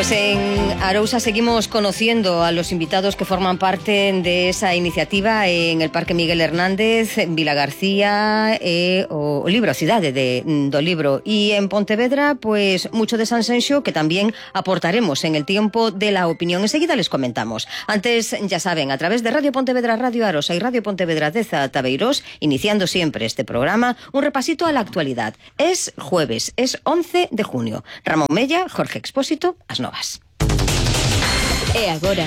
Pues en Arousa seguimos conociendo a los invitados que forman parte de esa iniciativa en el Parque Miguel Hernández, en Vilagarcía, o libro, a cidade do libro. E en Pontevedra, pues mucho de Sanxenxo que también aportaremos en el tiempo de la opinión. Enseguida les comentamos. Antes, ya saben, a través de Radio Pontevedra, Radio Arosa y Radio Pontevedra de Tabeirós, iniciando siempre este programa, un repasito a la actualidad. Es jueves, es 11 de junio. Ramón Mella, Jorge Expósito, as novas. E agora,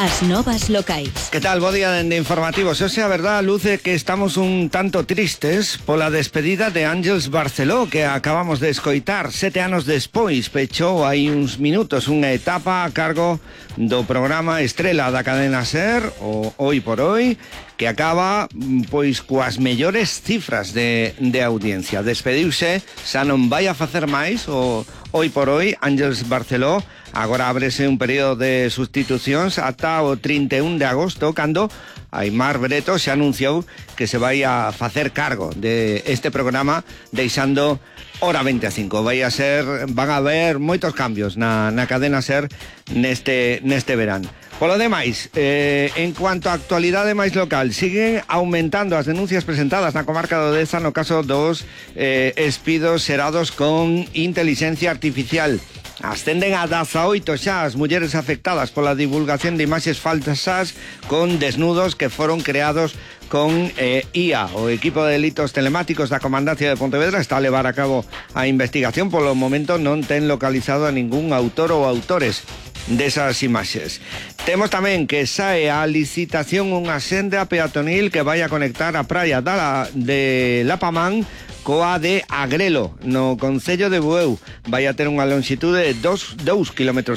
as novas locais. Que tal? Bo día dende Informativos. O sea, a verdad, luce que estamos un tanto tristes pola despedida de Ángeles Barceló, que acabamos de escoitar 7 anos despois. Pechou hai uns minutos unha etapa a cargo do programa estrela da cadena SER, o Hoy por Hoy, que acaba pois coas mellores cifras de audiencia. Despediuse, xa non vai a facer máis o Hoy por Hoy, Ángeles Barceló. Agora ábrese un período de sustitucións ata o 31 de agosto, cando Aimar Breto se anunciou que se vai a facer cargo de este programa, deixando Hora 25. Van a haber moitos cambios na cadena SER neste verán. Polo demais, en cuanto a actualidade máis local, siguen aumentando as denuncias presentadas na comarca do Deza no caso dos espidos xerados con inteligencia artificial. Ascenden a 18 xa as mulleres afectadas pola divulgación de imaxes falsas con desnudos que foron creados con IA. O equipo de delitos telemáticos da Comandancia de Pontevedra está a levar a cabo a investigación. Polo momento non ten localizado a ningún autor ou autores desas imaxes. Temos tamén que sae a licitación unha senda peatonil que vai a conectar a praia de Lapamán coa de Agrelo, no concello de Bueu. Vai a ter unha longitude de 2,5 km,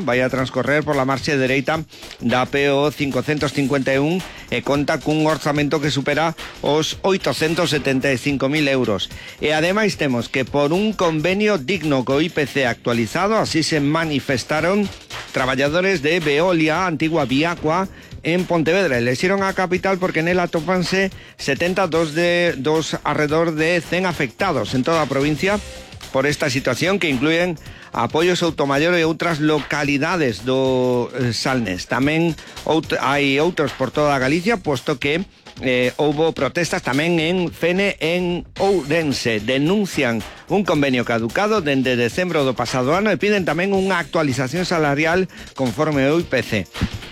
vai a transcorrer por la marxe dereita da PO 551 e conta cun orzamento que supera os 875.000 euros. E ademais temos que por un convenio digno co IPC actualizado, así se manifestaron traballadores de Veolia, antigua Viacua, en Pontevedra. Elexieron a capital porque nela atopanse 72 alrededor de 100 afectados en toda a provincia por esta situación, que incluyen apoios Soutomaior e outras localidades do Salnés. Tamén hai outros por toda Galicia, posto que houbo protestas tamén en Fene, en Ourense. Denuncian un convenio caducado dende decembro do pasado ano e piden tamén unha actualización salarial conforme o IPC.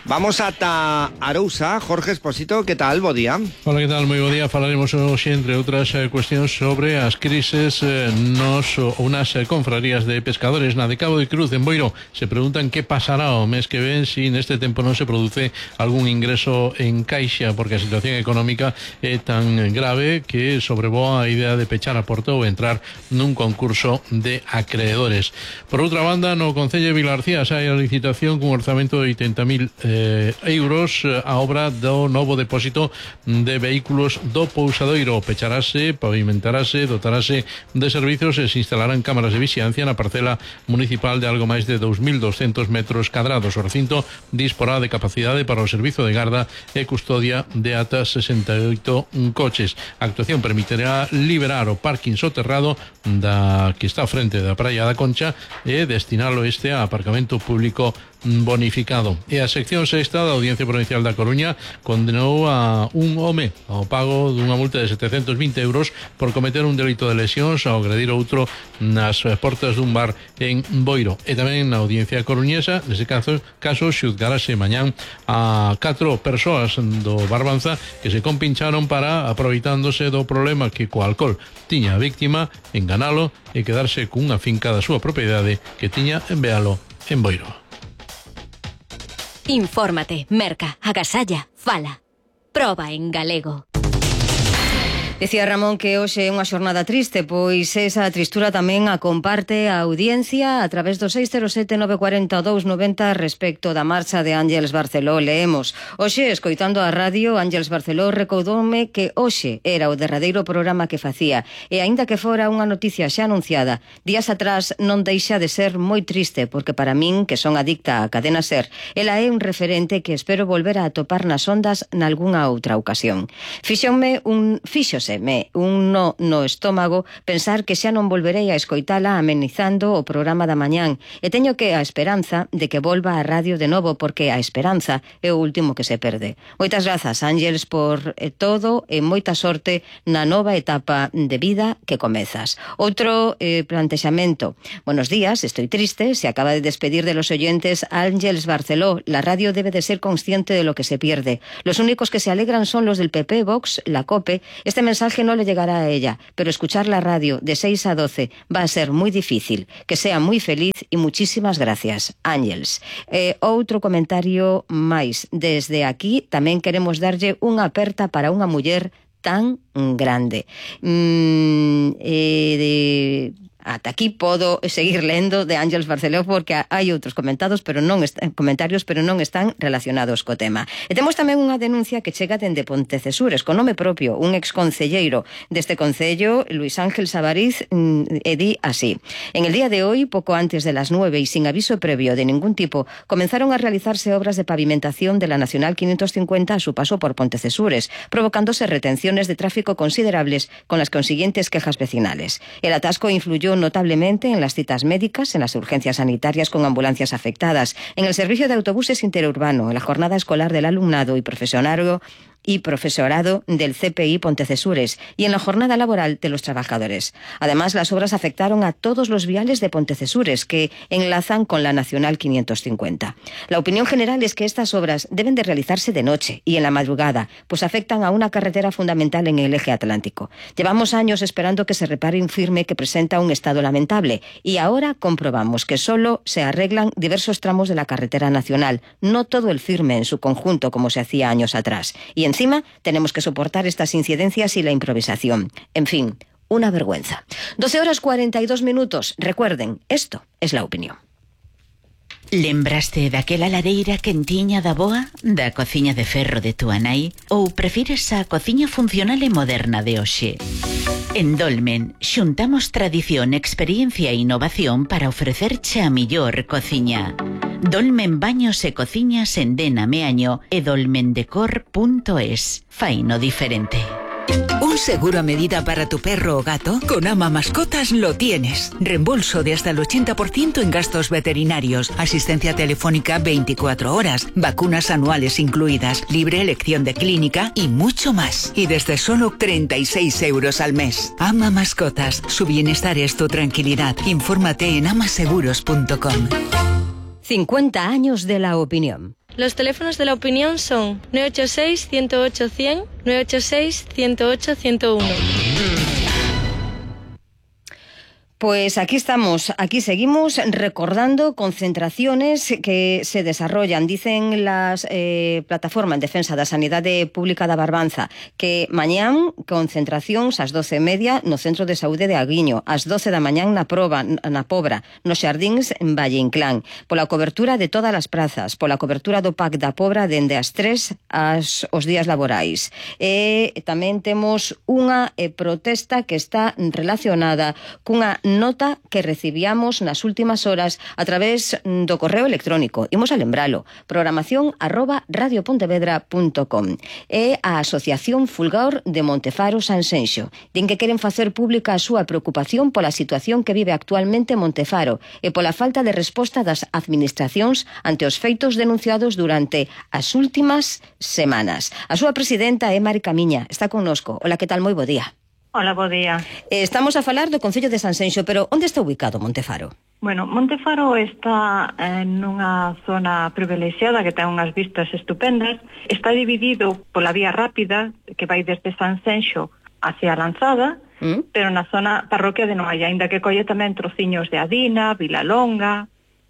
Vamos ata Arousa. Jorge Expósito, que tal? Bo día. Hola, que tal? Moi bo día. Falaremos hoxe, entre outras cuestións, sobre as crises unas confrarías de pescadores na de Cabo de Cruz, en Boiro. Se preguntan que pasará o mes que ven si neste tempo non se produce algún ingreso en caixa, porque a situación económica é tan grave que sobrevoa a idea de pechar a porta ou entrar nun concurso de acreedores. Por outra banda, no concello de Vilarcía sai a licitación cun orzamento de 80.000 euros a obra do novo depósito de vehículos do Pousadoiro. Pecharase, pavimentarase, dotarase de servicios e se instalarán cámaras de vixiancia na parcela municipal de algo máis de 2.200 metros cadrados. O recinto disporá de capacidade para o servizo de garda e custodia de ata 68 coches. A actuación permitirá liberar o parking soterrado que está frente da Praia da Concha e destinalo a aparcamento público bonificado. E a sección sexta da Audiencia Provincial da Coruña condenou a un home ao pago dunha multa de 720 euros por cometer un delito de lesións ao agredir outro nas portas dun bar en Boiro. E tamén na Audiencia Coruñesa, nese caso xuzgarase mañán a 4 persoas do Barbanza que se compincharon para, aproveitándose do problema que co alcohol tiña a víctima, enganalo e quedarse cunha finca da súa propiedade que tiña en Bealo, en Boiro. Infórmate, merca, agasalla, fala. Proba en galego. Decía Ramón que hoxe é unha xornada triste, pois esa tristura tamén a comparte a audiencia a través do 607-940-290 respecto da marcha de Ángeles Barceló. Leemos: hoxe, escoitando a radio, Ángeles Barceló recaudoume que hoxe era o derradeiro programa que facía, e aínda que fora unha noticia xa anunciada, días atrás non deixa de ser moi triste, porque para min, que son adicta á cadena SER, ela é un referente que espero volver a atopar nas ondas nalgúnha outra ocasión. Fíxose fíxoseme un no estómago pensar que xa non volverei a escoitala amenizando o programa da mañán e teño que a esperanza de que volva a radio de novo porque a esperanza é o último que se perde. Moitas grazas, Ángeles, por todo e moita sorte na nova etapa de vida que comezas. Outro plantexamento. Buenos días, estoy triste, se acaba de despedir de los oyentes Ángeles Barceló. La radio debe de ser consciente de lo que se pierde. Los únicos que se alegran son los del PP, Vox, la COPE. Este mensaje no le llegará a ella, pero escuchar la radio de 6 a 12 va a ser muy difícil. Que sea muy feliz y muchísimas gracias, Ángeles. Outro comentario máis. Desde aquí tamén queremos darlle unha aperta para unha muller tan grande. Ata aquí podo seguir lendo de Ángeles Barceló porque hai outros comentarios, pero non están relacionados co tema. E temos tamén unha denuncia que chega dende Pontecesures, con nome propio, un exconcelleiro deste concello, Luis Ángel Savariz, e di así: en el día de hoy, poco antes de las 9 y sin aviso previo de ningún tipo, comenzaron a realizarse obras de pavimentación de la Nacional 550 a su paso por Pontecesures, provocándose retenciones de tráfico considerables con las consiguientes quejas vecinales. El atasco influyó notablemente en las citas médicas, en las urgencias sanitarias con ambulancias afectadas, en el servicio de autobuses interurbano, en la jornada escolar del alumnado y profesorado del CPI Pontecesures y en la jornada laboral de los trabajadores. Además, las obras afectaron a todos los viales de Pontecesures que enlazan con la Nacional 550. La opinión general es que estas obras deben de realizarse de noche y en la madrugada, pues afectan a una carretera fundamental en el eje atlántico. Llevamos años esperando que se repare un firme que presenta un estado lamentable y ahora comprobamos que solo se arreglan diversos tramos de la carretera nacional, no todo el firme en su conjunto como se hacía años atrás. Y encima tenemos que soportar estas incidencias y la improvisación. En fin, una vergüenza. 12:42. Recuerden, esto es La Opinión. Lembraste daquela lareira quentiña da boa, da cociña de ferro de túa nai, ou prefires a cociña funcional e moderna de hoxe? En Dolmen xuntamos tradición, experiencia e innovación para ofrecerche a millor cociña. Dolmen Baños e Cociñas en Dena Meaño e dolmendecor.es. Faino diferente. ¿Un seguro a medida para tu perro o gato? Con Ama Mascotas lo tienes. Reembolso de hasta el 80% en gastos veterinarios, asistencia telefónica 24 horas, vacunas anuales incluidas, libre elección de clínica y mucho más. Y desde solo 36 euros al mes. Ama Mascotas, su bienestar es tu tranquilidad. Infórmate en amaseguros.com. 50 años de La Opinión. Los teléfonos de La Opinión son 986-108-100, 986-108-101. Pues aquí estamos, aquí seguimos recordando concentraciones que se desarrollan. Dicen las plataformas en defensa da sanidade pública da Barbanza que mañán concentracións ás 12:30 no Centro de Saúde de Aguiño, ás 12 da mañán na Pobra, nos Xardíns en Valle Inclán, pola cobertura de todas as prazas, pola cobertura do PAC da Pobra dende as 3 os días laborais. E tamén temos unha protesta que está relacionada cunha nota que recibíamos nas últimas horas a través do correo electrónico. Imos a lembralo, programación@radiopontevedra.com. É a Asociación Fulgor de Montefaro Sanxenxo. Din que queren facer pública a súa preocupación pola situación que vive actualmente Montefaro e pola falta de resposta das administracións ante os feitos denunciados durante as últimas semanas. A súa presidenta é Mari Camiña, está connosco. Hola, que tal? Moi bo día. Hola, bo día. Estamos a falar do Concello de Sanxenxo, pero onde está ubicado Montefaro? Bueno, Montefaro está nunha zona privilexiada que ten unhas vistas estupendas. Está dividido pola vía rápida que vai desde Sanxenxo hacia Lanzada, pero na zona parroquia de Noaia, ainda que colle tamén trociños de Adina, Vilalonga,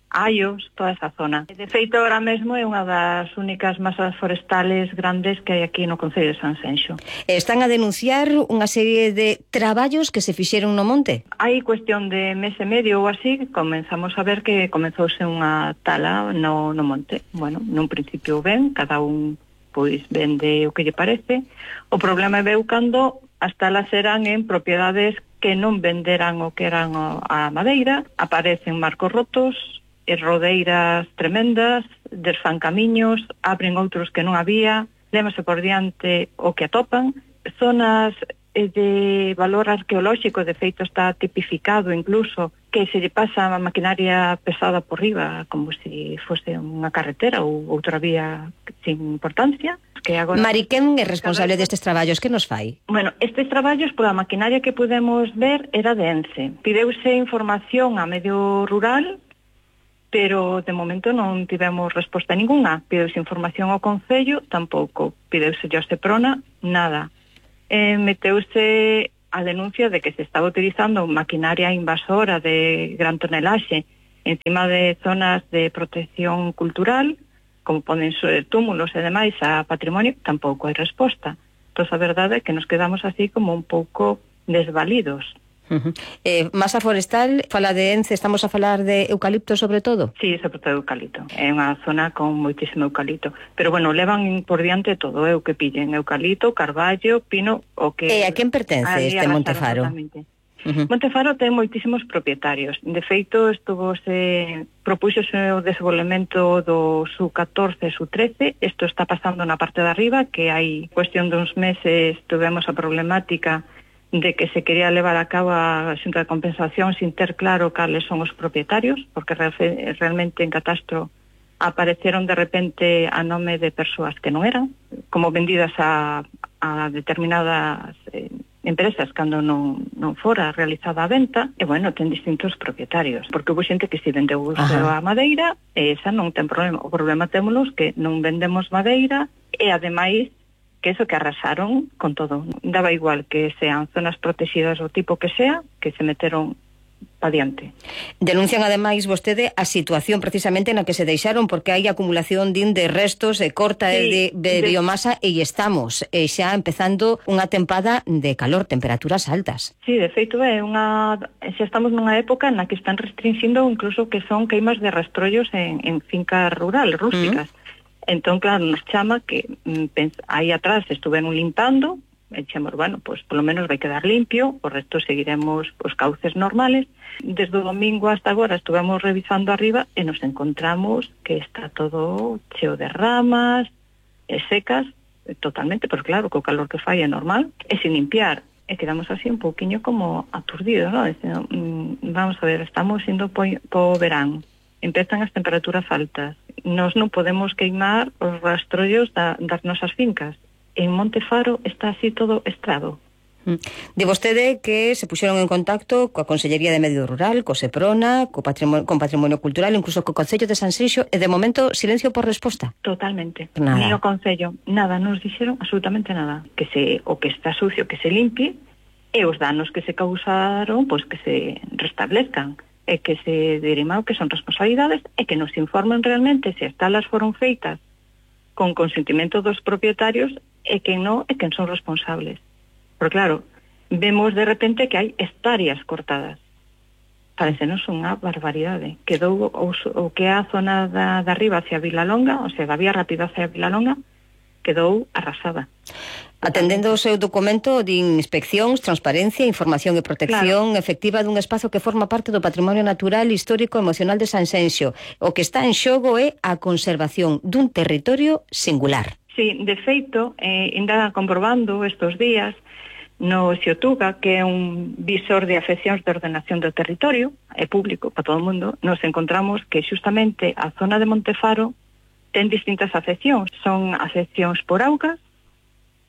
Aios, toda esa zona. De feito, ahora mesmo é unha das únicas masas forestales grandes que hai aquí no Concello de Sanxenxo. Están a denunciar unha serie de traballos que se fixeron no monte? Hai cuestión de mes e medio ou así, comenzamos a ver que comenzouse unha tala no monte. Bueno, nun principio ben, cada un pois vende o que lle parece. O problema veu cando as talas eran en propiedades que non venderan o que eran a madeira, aparecen marcos rotos, rodeiras tremendas, desfan camiños, abren outros que non había, lémase por diante o que atopan, zonas de valor arqueolóxico, de feito está tipificado incluso, que se lle pasa a maquinaria pesada por riba como se fose unha carretera ou outra vía sin importancia. Que agora... Mari, quen é responsable destes traballos? Que nos fai? Bueno, estes traballos, pola maquinaria que podemos ver, era de ENCE. Pideuse información a medio rural, pero de momento non tivemos resposta ninguna. Pideuse información ao Concello, tampouco. Pideuse ao Seprona, nada. Meteuse a denuncia de que se estaba utilizando maquinaria invasora de gran tonelaxe encima de zonas de protección cultural, como poden ser túmulos e demais a patrimonio, tampouco hai resposta. Entón, a verdade é que nos quedamos así como un pouco desvalidos. Masa forestal, fala de ENCE, estamos a falar de eucalipto sobre todo? Sí, sobre todo eucalipto. É unha zona con moitísimo eucalipto. Pero, bueno, levan por diante todo, o que pillen, eucalipto, carballo, pino, o que... E a quen pertence este Montefaro? Montefaro ten moitísimos propietarios. De feito, propúxose o desenvolvemento do SU-14 e SU-13. Isto está pasando na parte de arriba, que hai cuestión duns meses tuvemos a problemática de que se quería levar a cabo a xunta de compensación sin ter claro cales son os propietarios, porque realmente en catastro apareceron de repente a nome de persoas que non eran, como vendidas a determinadas empresas cando non fora realizada a venta, e bueno, ten distintos propietarios, porque houve xente que se vendeu a madeira, e esa non ten problema. O problema témolos que non vendemos madeira, e ademais que eso que arrasaron con todo. Daba igual que sean zonas protegidas o tipo que sea, que se meteron pa diante. Denuncian ademais vostede a situación precisamente na que se deixaron, porque hai acumulación de restos e corta de biomasa, e estamos xa empezando unha tempada de calor, temperaturas altas. Sí, de feito xa estamos nunha época na que están restringindo incluso que son queimas de rastrollos en fincas rural, rústicas. Entón, claro, nos chama que aí atrás estuveron limpando, e dixemos, bueno, pues polo menos vai quedar limpio, o resto seguiremos os cauces normales. Desde o domingo hasta agora estuvemos revisando arriba e nos encontramos que está todo cheo de ramas, secas, totalmente, pero claro, co calor que fai é normal, e sin limpiar. E quedamos así un pouquiño como aturdidos, ¿no? Vamos a ver, estamos indo po verán, empezan as temperaturas altas, nos non podemos queimar os rastrollos das nosas fincas. En Montefaro está así todo estrado. De vostede que se puxeron en contacto coa Consellería de Medio Rural, co Seprona, con Patrimonio Cultural, incluso co Concello de Sanxenxo, e de momento silencio por resposta. Totalmente. Nada. Ni o Concello, nada, nos dixeron absolutamente nada. O que está sucio, que se limpie, e os danos que se causaron, pois que se restablezcan, e que se dirima o que son responsabilidades, e que nos informen realmente se as talas foron feitas con consentimento dos propietarios, e quen non, e quen son responsables. Porque claro, vemos de repente que hai hectáreas cortadas. Parecenos unha barbaridade. Quedou o que é a zona da arriba hacia Vilalonga, o sea, da vía rápida hacia Vilalonga, quedou arrasada. Atendendo o seu documento de inspeccións, transparencia, información e protección efectiva dun espazo que forma parte do patrimonio natural, histórico e emocional de Sanxenxo. O que está en xogo é a conservación dun territorio singular. Sí, de feito, ainda comprobando estes días no Xiotuga, que é un visor de afeccións de ordenación do territorio, é público para todo o mundo, nos encontramos que xustamente a zona de Montefaro ten distintas afeccións. Son afeccións por augas,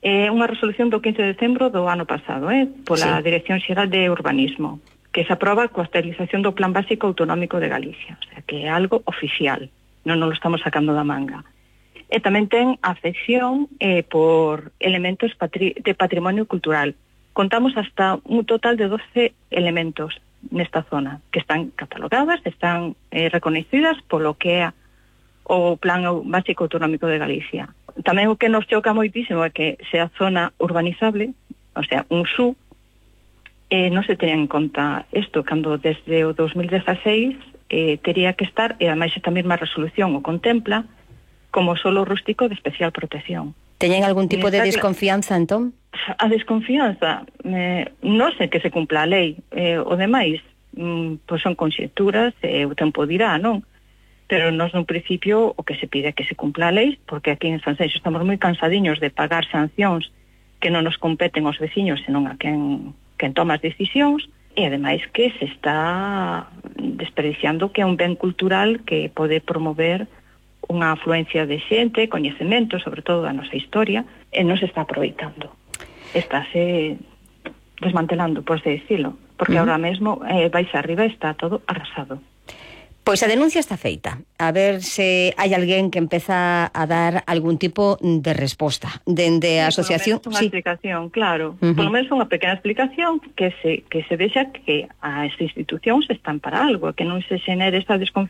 unha resolución do 15 de decembro do ano pasado, pola Dirección Xeral de Urbanismo, que se aproba coa actualización do Plan Básico Autonómico de Galicia, o sea, que é algo oficial, non lo estamos sacando da manga. E tamén ten afección por elementos de patrimonio cultural. Contamos hasta un total de 12 elementos nesta zona, que están catalogadas, están reconhecidas polo que é o Plan Básico Autonómico de Galicia. Tamén o que nos choca moitísimo é que sea zona urbanizable, o sea, un SU, non se teña en conta isto, cando desde o 2016 tería que estar, e ademais esta mesma resolución o contempla, como solo rústico de especial protección. Teñen algún tipo de desconfianza, entón? A desconfianza, non sei que se cumpla a lei, o demais, pois son conxecturas, o tempo dirá, non? Pero nós, nun principio, o que se pide é que se cumpla a lei, porque aquí en Sanxenxo estamos moi cansadiños de pagar sancións que non nos competen os veciños, senón a quen toma as decisións, e ademais que se está desperdiciando que é un ben cultural que pode promover unha afluencia de xente, coñecemento, sobre todo da nosa historia, e non se está aproveitando. Estáse desmantelando, por así decirlo, porque ahora mesmo vais arriba e está todo arrasado. Pois a denuncia está feita. A ver se hai alguén que empeza a dar algún tipo de resposta. Dende a asociación... Por lo menos unha explicación, claro. Por lo menos unha pequena explicación que se vexa que as institucións están para algo, que non se xenere esta desconfianza